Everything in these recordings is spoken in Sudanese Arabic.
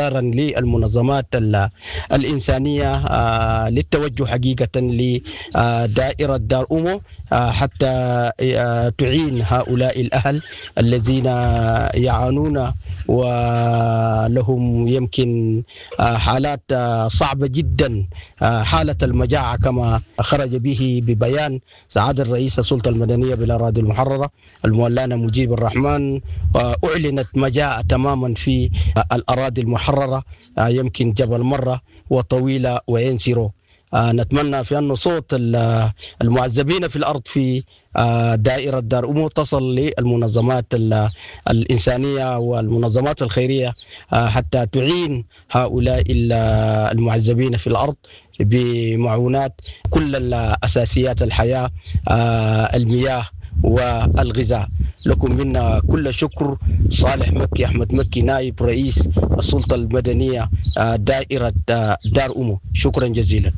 مرارا للمنظمات الإنسانية للتوجه حقيقة لدائرة دار أمو حتى تعين هؤلاء الأهل الذين يعانون ولهم يمكن حالات صعبة جدا، حالة المجاعة كما خرج به ببيان سعادة الرئيس السلطة المدنية بالأراضي المحررة المولانا مجيب الرحمن. أعلنت مجاعة تماما في الأراضي المحررة، يمكن جبل مرة وطويلة وينسيرو. نتمنى في أن صوت المعذبين في الأرض في دائرة دار أمو تصل للمنظمات الإنسانية والمنظمات الخيرية حتى تعين هؤلاء المعذبين في الأرض بمعونات كل الأساسيات الحياة، المياه والغذاء. لكم منا كل شكر. صالح مكي أحمد مكي، نائب رئيس السلطة المدنية دائرة دار أمو، شكرا جزيلا.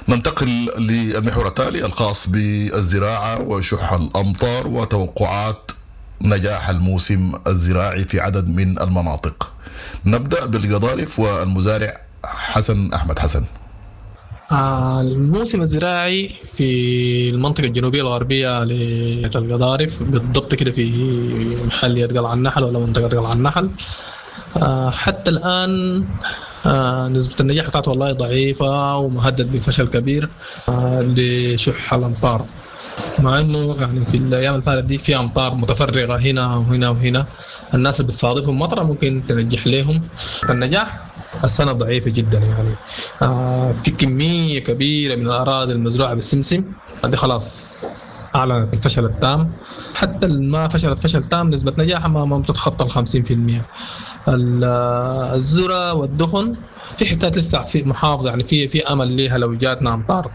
ننتقل للمحور التالي الخاص بالزراعة وشح الأمطار وتوقعات نجاح الموسم الزراعي في عدد من المناطق. نبدأ بالقضارف والمزارع حسن أحمد حسن. الموسم الزراعي في المنطقة الجنوبية الغربية للقضارف بالضبط كده في محلية قلعة النحل ولا منطقة قلعة النحل، حتى الآن نسبة النجاح بتاعته والله ضعيفة ومهدد بفشل كبير لشح الأمطار، مع إنه يعني في الأيام الفاتت دي في أمطار متفرغة هنا وهنا وهنا، الناس اللي بتصادفهم مطرة ممكن تنجح لهم. فالنجاح السنة ضعيفة جدا يعني. في كمية كبيرة من الأراضي المزروعة بالسمسم دي خلاص أعلنت الفشل التام، حتى ما فشلت فشل تام نسبة نجاحها ما بتتخطى 50%. الذرة والدخن في حتات لسه في محافظة يعني في أمل ليها لو جاتنا أمطار،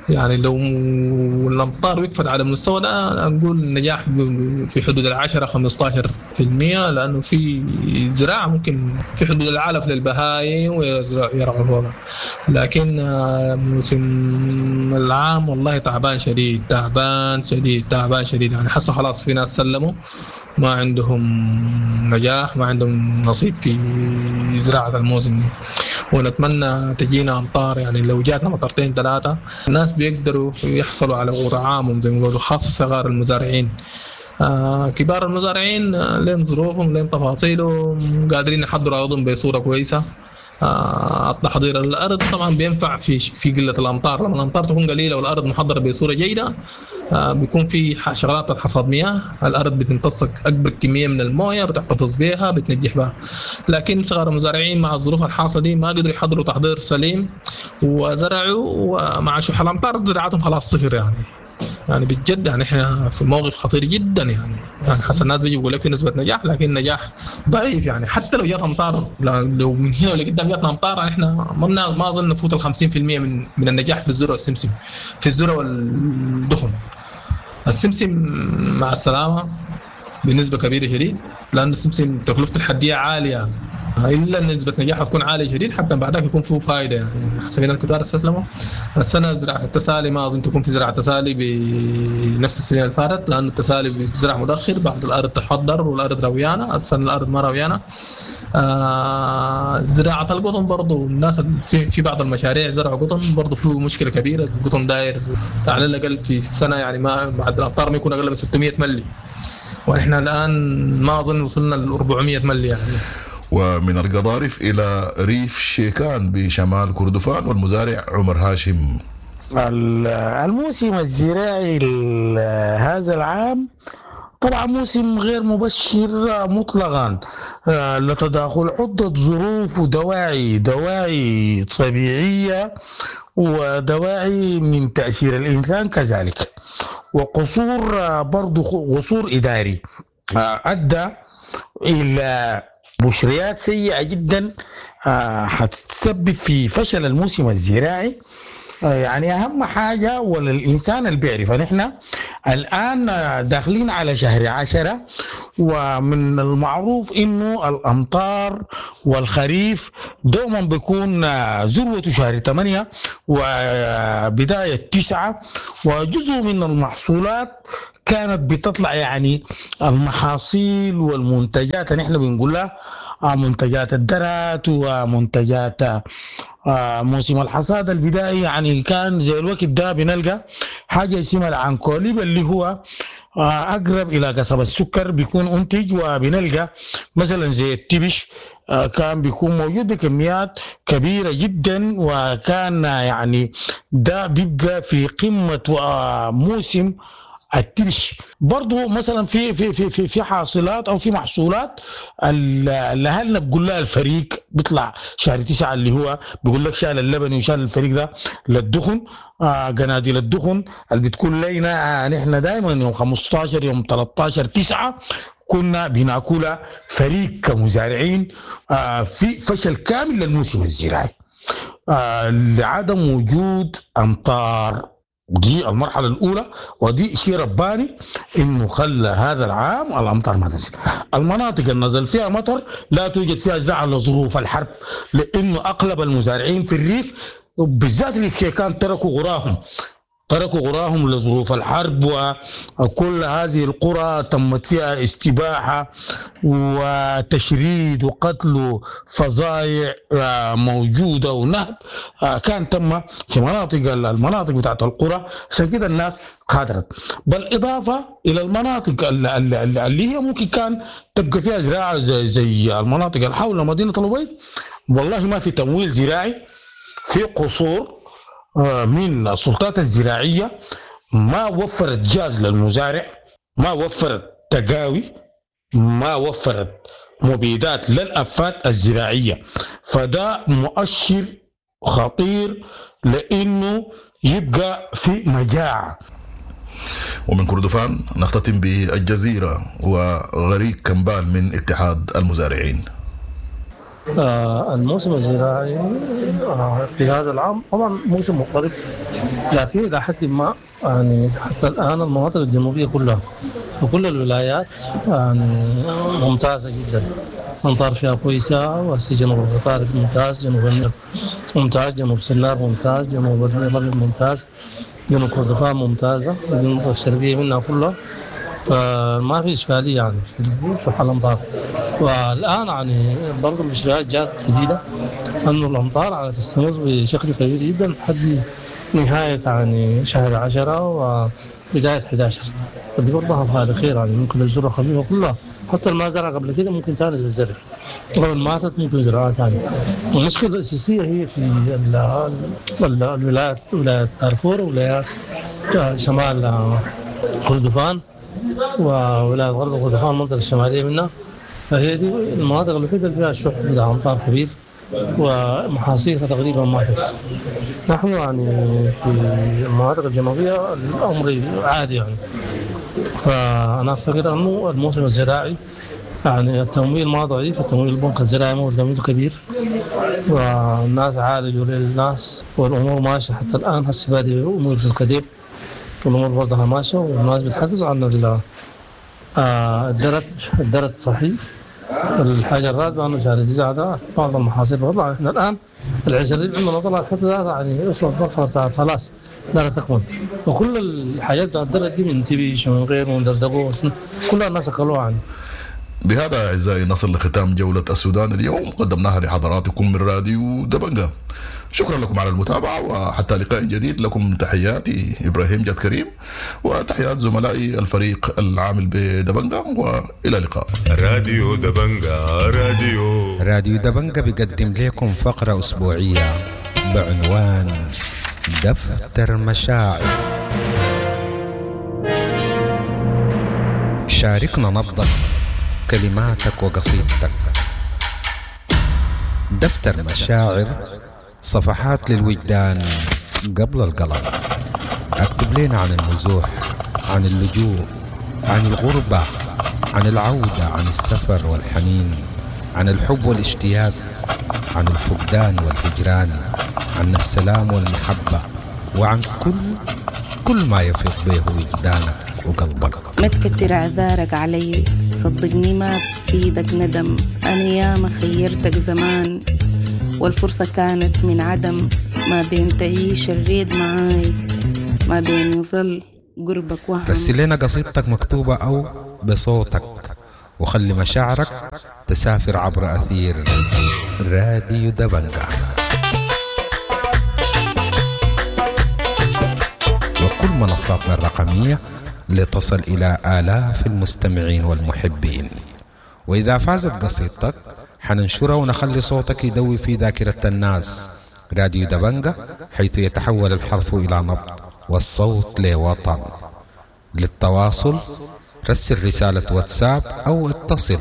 يعني لو الأمطار وقفت على المستوى ده نقول النجاح في حدود 10-15%، لأنه في زراعة ممكن في حدود العلف للبهايم ويرعوا فوقها. لكن موسم العام والله تعبان شديد تعبان شديد تعبان شديد يعني، حسوا خلاص في ناس سلموا ما عندهم نجاح، ما عندهم نصيب في زراعة الموسم دي. ونتمنى تجينا أمطار، يعني لو جاتنا مطرتين ثلاثة الناس بيقدروا يحصلوا على طعامهم زي ما بيقولوا، خاصة صغار المزارعين. كبار المزارعين لين ظروفهم لين تفاصيلهم قادرين يحضروا أرضهم بصورة كويسة. التحضير الأرض طبعا بينفع في قلة الأمطار، لما الأمطار تكون قليلة والأرض محضرة بصورة جيدة بيكون في شغلات الحصاد مياه، الأرض بتمتص أكبر كمية من الموية بتحتفظ بها بتنجح بها. لكن صغار المزارعين مع الظروف الحاصلة دي ما قدروا يحضروا تحضير سليم وزرعوا، ومع شح الأمطار زراعتهم خلاص صفر يعني بجد يعني احنا في موقف خطير جدا يعني حسنات بيجي بيقول لك نسبه نجاح، لكن نجاح ضعيف يعني. حتى لو جات امطار، لو من هنا ولقدام جاتنا امطار يعني احنا ما اظن نفوت ال 50% من النجاح في الذرة والسمسم، في الذرة والدخن. السمسم مع السلامة بنسبة كبيرة شديد، لان السمسم تكلفته الحدية عالية، الا نسبه نجاحها تكون عالية شديد حتى بعدك يكون فيه فائدة يعني. حسب الكتار استسلموا السنة زراعة التسالي ما اظن تكون في زراعة تسالي بنفس السنة اللي فاتت، لان التسالي بيزرع متاخر بعد الارض تحضر والارض رويانه، السنة الارض ما رويانه. زراعة القطن برضو الناس في بعض المشاريع زرعوا قطن برضو فيه مشكلة كبيرة، القطن داير على الاقل في السنة يعني ما بعد الامطار ما يكون اقل من 600 ملي، ونحن الان ما اظن وصلنا ل 400 ملي يعني. ومن القضارف إلى ريف شيكان بشمال كردفان والمزارع عمر هاشم. الموسم الزراعي هذا العام طبعا موسم غير مبشر مطلقا، لتداخل عدة ظروف ودواعي، دواعي طبيعية ودواعي من تأثير الإنسان كذلك، وقصور برضو قصور إداري أدى إلى بشريات سيئة جدا هتتسبب في فشل الموسم الزراعي. يعني أهم حاجة ولا الإنسان اللي بيعرف، نحن الآن داخلين على شهر 10، ومن المعروف إنه الأمطار والخريف دوما بيكون ذروة شهر 8 وبداية 9، وجزء من المحصولات كانت بتطلع يعني المحاصيل والمنتجات اللي احنا بنقولها منتجات الدرات ومنتجات موسم الحصاد البدائي. يعني كان زي الوقت ده بنلقى حاجة اسمها العنكوليب اللي هو أقرب إلى قصب السكر بيكون أنتج، وبنلقى مثلا زي التبش كان بيكون موجود بكميات كبيرة جدا، وكان يعني ده بيبقى في قمة موسم التبش. برضو مثلا في في في في في حاصلات او في محصولات اللي اهلنا بيقول لها الفريق بيطلع شهر 9 اللي هو بيقول لك شال اللبن وشال الفريق ده للدخن، قناديل الدخن اللي بتكون لينا نحن دائما يوم 15 يوم 13 9 كنا بناكلها فريق كمزارعين. في فشل كامل للموسم الزراعي لعدم وجود امطار. دي المرحلة الأولى، ودي شيء رباني إنه خلى هذا العام الأمطار ما تنزل. المناطق اللي نزل فيها مطر لا توجد فيها زراعة لظروف الحرب، لأنه أغلب المزارعين في الريف بالذات ريف شيكان تركوا غراهم لظروف الحرب، وكل هذه القرى تمت فيها استباحة وتشريد وقتل وفظائع موجودة ونهب كان تم في المناطق بتاعت القرى. عشان كده الناس قادرت، بالإضافة إلى المناطق اللي هي ممكن كان تبقى فيها زراعة زي المناطق اللي حول مدينة الأبيض، والله ما في تمويل زراعي، في قصور من السلطات الزراعية ما وفرت جاز للمزارع، ما وفرت تقاوي، ما وفرت مبيدات للأفات الزراعية. فده مؤشر خطير لأنه يبقى في مجاعة. ومن كردفان نختتم بالجزيرة وغريق كمبال من اتحاد المزارعين. الموسم الزراعي في هذا العام طبعا موسم مضطرب، لكن إلى حد ما يعني حتى الآن المناطق الجنوبية كلها وكل الولايات يعني ممتازة جدا، أمطار فيها كويسة، وجنوب القطارف ممتاز، جنوب النيل ممتاز، جنوب سنار ممتاز، جنوب الأبيض ممتاز، جنوب كردفان ممتازة، المنطقة الشرقية منها كلها، فما في إشكالية يعني في حال الأمطار. والآن يعني برضه الإشكاليات جات جديدة أنه الأمطار على تستمر بشكل كبير جدا لحد نهاية يعني شهر 10 وبداية 11، ودي برضه فيها خير يعني ممكن الذرة خفيفة كلها، حتى ما زرع قبل كده ممكن تاني تزرع، لو ماتت ممكن زراعة ثانية. المشكلة الأساسية هي في الولايات، ولاية دارفور ولايات شمال كردفان وولاية غرب كردفان المنطقة الشمالية منها، فهي دي المناطق الوحيدة اللي فيها شح بتاع أمطار كبير ومحاصيلها تقريبا ماتت. نحن يعني في المناطق الجنوبية الأمر عادي يعني، فأنا أعتقد أنه الموسم الزراعي يعني التمويل ما ضعيف، التمويل البنك الزراعي ما هو تمويل كبير، والناس عالجوا للناس والأمور ماشية حتى الآن. هسه بادئ الأمور في القديم والأمور برضها ماشية، والناس بتحدث عن الدرت صحيح. الحاجة الرابعة أنه شهر 9 ده بعض المحاصيل بتطلع، إحنا الآن العشرين عندنا طلعت حتى يعني وصلت مرحلة بتاعت خلاص دارت تكمل، وكل الحاجات بتاعت الدرت دي من تبيش ومن غيره ومن دردقوه كلها الناس أكلوها يعني. بهذا أعزائي نصل لختام جولة السودان اليوم، قدمناها لحضراتكم من راديو دبنجة. شكرا لكم على المتابعة، وحتى لقاء جديد لكم تحياتي إبراهيم جاد كريم وتحيات زملائي الفريق العامل بدبنجة، وإلى اللقاء. راديو دبنجة، راديو دبنجة بيقدم لكم فقرة أسبوعية بعنوان دفتر مشاعر. شاركنا نبضك، كلماتك وقصيدتك. دفتر مشاعر، صفحات للوجدان قبل القلم. اكتب لنا عن النزوح، عن اللجوء، عن الغربة، عن العودة، عن السفر والحنين، عن الحب والاشتياق، عن الفقدان والهجران، عن السلام والمحبة، وعن كل ما يفيض به وجدانك وقلبك. ما تكتر اعذارك علي، صدقني ما بفيدك ندم، انا ياما خيرتك زمان والفرصة كانت من عدم، ما بين تعيش الريد معاي، ما بين يظل قربك وهم. رسل لنا قصيدتك مكتوبة أو بصوتك، وخلي مشاعرك تسافر عبر أثير راديو دبنجة وكل منصاتنا الرقمية لتصل إلى آلاف المستمعين والمحبين. وإذا فازت قصيدتك حننشرها ونخلي صوتك يدوي في ذاكرة الناس. راديو دبنجة، حيث يتحول الحرف إلى نبض والصوت لوطن. للتواصل رسل رسالة واتساب أو اتصل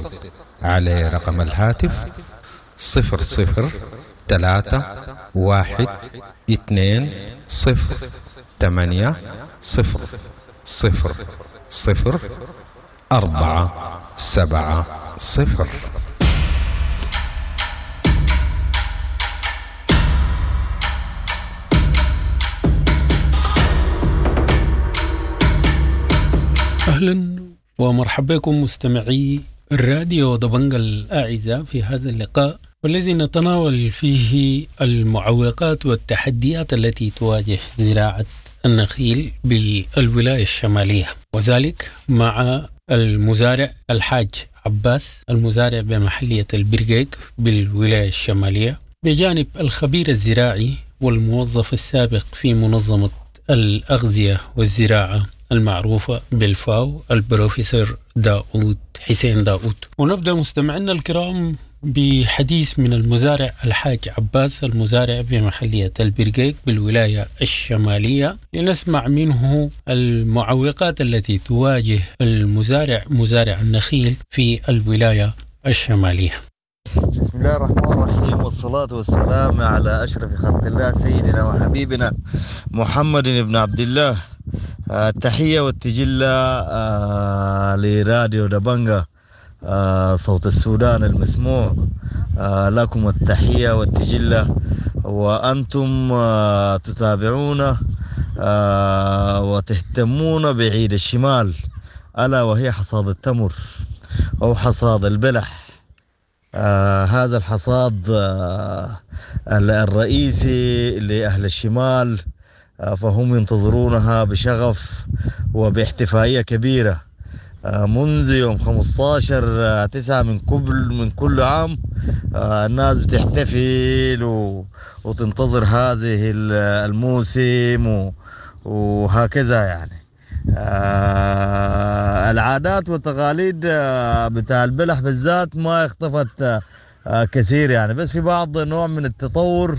على رقم الهاتف 00 3 1 2 0 8 0 0 0 4 7 0. أهلا ومرحبا بكم مستمعي الراديو دبنجة الأعزاء في هذا اللقاء، والذي نتناول فيه المعوقات والتحديات التي تواجه زراعة النخيل بالولاية الشمالية، وذلك مع المزارع الحاج عباس المزارع بمحلية البرقيق بالولاية الشمالية، بجانب الخبير الزراعي والموظف السابق في منظمة الأغذية والزراعة المعروفة بالفاو البروفيسور داود حسين داود. ونبدأ مستمعينا الكرام بحديث من المزارع الحاج عباس المزارع بمحلية البرقيق بالولاية الشمالية، لنسمع منه المعوقات التي تواجه المزارع مزارع النخيل في الولاية الشمالية. بسم الله الرحمن الرحيم، والصلاة والسلام على أشرف خلق الله سيدنا وحبيبنا محمد بن عبد الله. التحية والتجلة لراديو دبنجة صوت السودان المسموع. لكم التحية والتجلة، وأنتم تتابعون وتهتمون بعيد الشمال، ألا وهي حصاد التمر أو حصاد البلح. هذا الحصاد الرئيسي لأهل الشمال، فهم ينتظرونها بشغف وباحتفائية كبيرة منذ يوم 15/9 من كل عام. الناس بتحتفل وتنتظر هذه الموسم وهكذا يعني. العادات والتقاليد بتاع البلح بالذات ما اختفت كثير يعني، بس في بعض نوع من التطور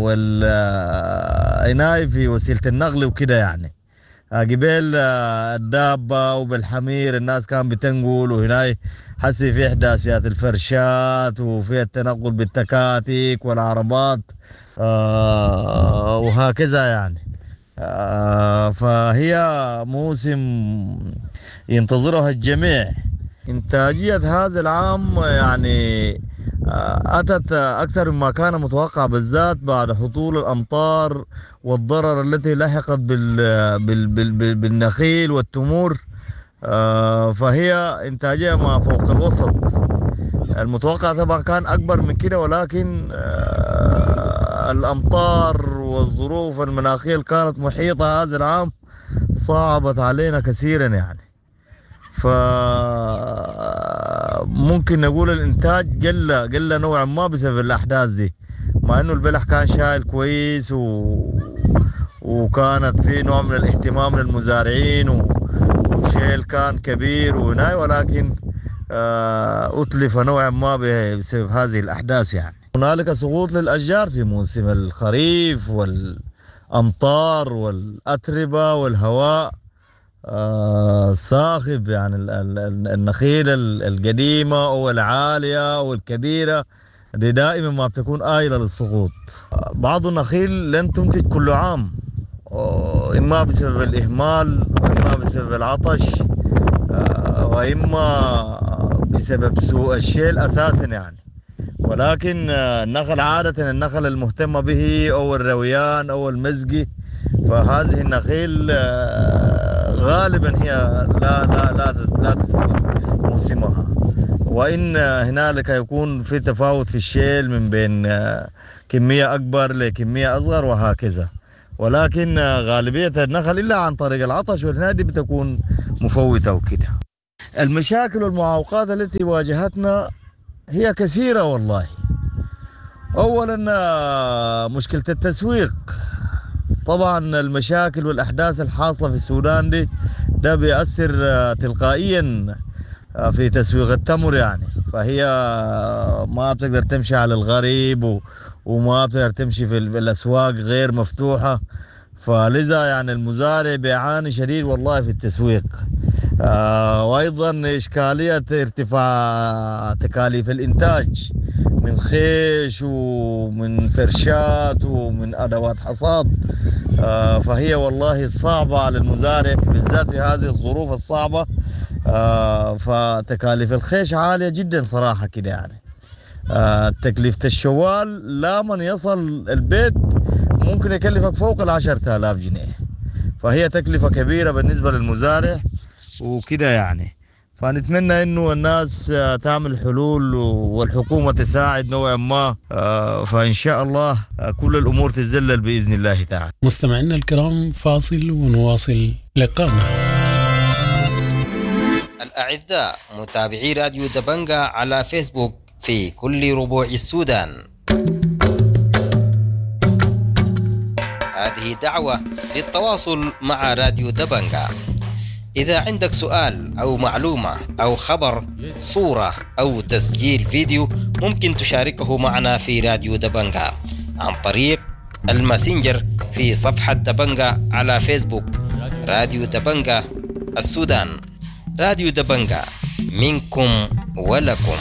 والعناية في وسيلة النقل وكده يعني. قبل الدابة وبالحمير الناس كان بتنقل، وهنا حسي في إحداثيات الفرشات وفي التنقل بالتكاتك والعربات وهكذا يعني. فهي موسم ينتظرها الجميع. إنتاجية هذا العام يعني أتت أكثر مما كان متوقع، بالذات بعد هطول الأمطار والضرر التي لحقت بالنخيل والتمور. فهي إنتاجية ما فوق الوسط المتوقع، طبعا كان أكبر من كده، ولكن الأمطار والظروف المناخية اللي كانت محيطة هذا العام صعبت علينا كثيرا يعني. فممكن نقول الإنتاج قل نوعا ما بسبب الأحداث دي، مع إنه البلح كان شايل كويس وكانت في نوع من الاهتمام للمزارعين وشيل كان كبير وناي، ولكن أتلف نوعا ما بسبب هذه الأحداث يعني. هنالك سقوط للأشجار في موسم الخريف والأمطار والأتربة والهواء صاخب يعني. النخيل القديمة أو العالية أو الكبيرة دي دائما ما بتكون آيلة للسقوط. بعض النخيل لن تنتج كل عام، إما بسبب الإهمال وإما بسبب العطش وإما بسبب سوء الشيل أساسا يعني. ولكن النخل عادة النخل المهتمة به أو الرويان أو المزقي، فهذه النخيل غالبا هي لا لا لا لا تفوت موسمها، وإن هنالك يكون في تفاوت في الشيل من بين كمية أكبر لكمية أصغر وهكذا. ولكن غالبية النخل إلا عن طريق العطش والنادي بتكون مفوتة وكده. المشاكل والمعوقات التي واجهتنا هي كثيرة والله. أولا مشكلة التسويق، طبعا المشاكل والأحداث الحاصلة في السودان دي ده بيأثر تلقائيا في تسويق التمر يعني، فهي ما بتقدر تمشي على الغريب وما بتقدر تمشي في الأسواق غير مفتوحة، فلذا يعني المزارع بيعاني شديد والله في التسويق. وأيضا إشكالية ارتفاع تكاليف الإنتاج من خيش ومن فرشات ومن أدوات حصاد، فهي والله صعبة على المزارع بالذات في هذه الظروف الصعبة. فتكاليف الخيش عالية جدا صراحة كده يعني. تكلفة الشوال لا من يصل البيت ممكن يكلفك فوق 10,000 جنيه، فهي تكلفة كبيرة بالنسبة للمزارع وكده يعني. فنتمنى انه الناس تعمل حلول والحكومة تساعد نوعا ما، فان شاء الله كل الامور تتذلل باذن الله تعالى. مستمعينا الكرام، فاصل ونواصل لقاءنا. الأعزاء متابعي راديو دبنجا على فيسبوك في كل ربوع السودان، هذه دعوة للتواصل مع راديو دبنجا. إذا عندك سؤال أو معلومة أو خبر، صورة أو تسجيل فيديو، ممكن تشاركه معنا في راديو دبنجا عن طريق الماسنجر في صفحة دبنجا على فيسبوك. راديو دبنجا السودان، راديو دبنجا منكم ولكم.